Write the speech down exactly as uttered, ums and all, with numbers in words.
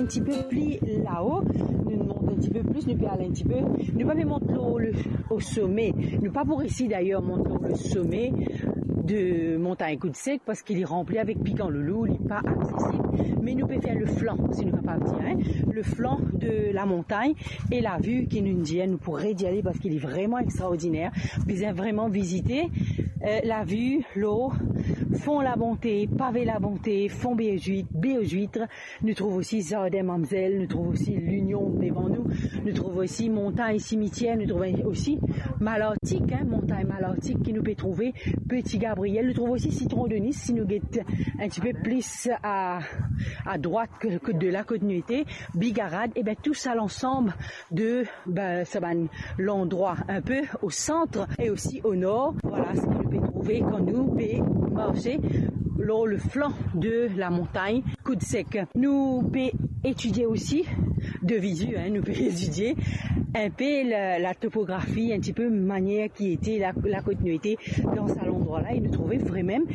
Enn tipe pli lao, nou mont enn tipe plis, nou pe al enn tipe, nou pa pe mont lor le, o some, nou pa pou resi dayer mont lor le some de montagn Koud Sek, parski li ranpli avek pikan loulou, li pa aksesib, me nou pe fer le flan, si nou kapav dir, hein, le flan de la montagn, e la vi ki nou dir, nou pou redi ale, parski li vreman extraordiner, bizin vreman vizite, eh, la vi lor Fon Labonte, Pave Labonte, Fon Be-o-Zwit, Be-o-Zwit, nou trouv osi Zardin Mamzel, nou trouv osi Linion devan nou, nou trouv osi Montagn Simitier, nou trouv osi Malartik, hein, Montagn Malartik ki nou pe trouve Petit Gabriel, nou trouv osi Citron de Nice, si nou get enn tipe plis a, a drwat ke, ke de la kot nou ete, Bigarad, e ben tou sa lansam de, ben, sa bann landrwa enn pe o sant e osi o nor. Vwala seki nou pe trouve kan nou pe marse lor le flan de la montagn Koud Sek. Nou pe etidie osi de vizi, hein, nou pe etidie enn pe la, la topografi, enn tipe manier ki ete la, la kot nou ete dan sa landrwa la, e nou trouve vremem